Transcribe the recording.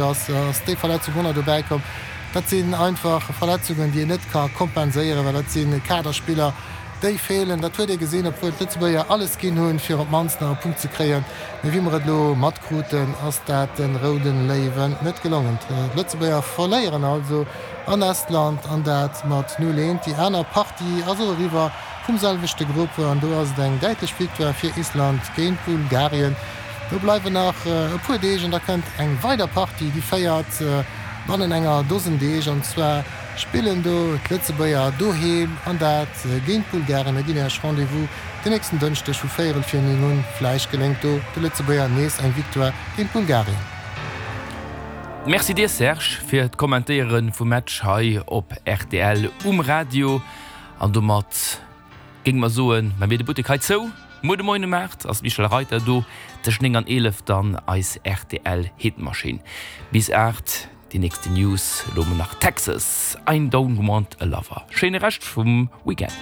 Ass déi Verletzung och nach dobäi komm. Dat sinn einfach Verletzungen, déi een net ka kompenséieren, well dat si Kaderspiller, déi feelen. Dat huet ee gesinn, obwuel d'Lëtzebuerger alles ginn hunn, fir op d'mannst nach e Punkt ze kréien. Mee wéi mer et elo matkruten, ass dat de Rouden Léiwen net gelongen. D'Lëtzebuerger verléieren also an Estland an dat mat 0, 1. Déi aner Partie ass och eriwwer vum selwechte Grupp an do ass et eng däitlech Victoire fir Island géint Bulgarien. Do bleiwen nach e puer Deeg an da kënnt eng weider Partie, déi féiert bannen enger Dosen Deeg. An zwar spillen do d'Lëtzebuerger doheem an dat géint d'Bulgaren. Mir ginn Iech Rendez-vous den nächsten Dënschdeg vu véierel vir 9 un. Vläicht geléngt do de Lëtzebuerger nees eng Victoire géint Bulgarien. Merci dir Serge fir d'Kommentéiere vum Match hei op rtl um Radio. An domat géinge mer soen, mä mir de Buttek hei zou. Muer de Moien um 8 ass d'Michèle Reiter do, tëscht 9 an 11 dann eis rtl Hitmaschinn. Bis 8 déi nächste News, elo mol nach Texas, I don't want a lover. Schéine Rescht vum Weekend.